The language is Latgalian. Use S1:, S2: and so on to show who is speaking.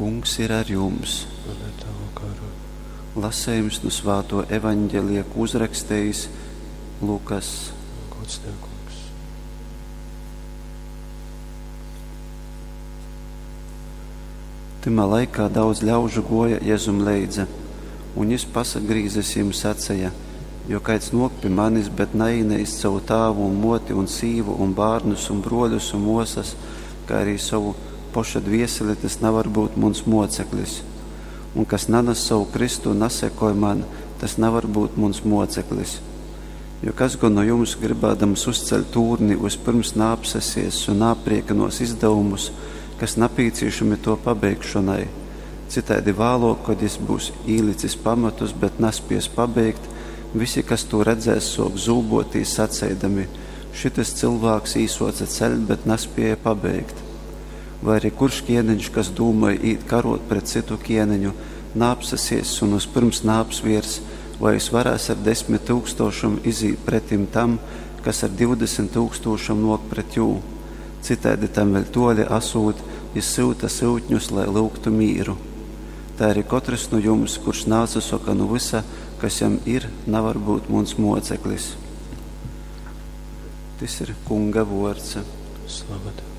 S1: Kungs ir ar jums!
S2: Un ar tavu garu.
S1: Lasējums nu svāto evaņģelija, ko uzrakstījis Lukas.
S2: Gods tev, kungs.
S1: Tymā laikā daudz ļaužu goja Jezum leidza, un jis pasagrīzis jim saceja: Jo kaids nok pi manis, bet naīneist savu tāvu un moti un sīvu un bārnus un bruoļus un muosas, kā arī sovu poša dvieseli, tas navar būt muns moceklis. Un kas nanas savu kristu un nasekoj man, tas navar būt muns moceklis. Jo kas gan no jums, gribādams uzceļt tūrni, vispirms naapsesies un naapriekinos izdevumus, kas napīcīšami to pabeigšonai? Citaidi vālok, kod jis būs īlicis pamatus, bet naspies pabeigt, visi, kas tū redzēs, sok zūbotīs, saceidami: Šitys cylvāks īsoce ceļt, bet naspieja pabeigt. Vai arī kurš ķieniņš, kas dūmoj īt karot pret cytu ķieniņu, naapsasies un vispirms naapsviers, vai jis varēs ar desmit tūkstošom izīt pretim tam, kas ar 20 tūkstošom nok pret jū. Citaidi tam vēļ toļi asūt, jis syuta syutņus, lai lyugtu mīru. Tai arī kotrs nu jums, kurš naatsasoka nu vysa, kas jam ir, navar būt muns moceklis. Tys ir Kunga vuords.
S2: Slava tev,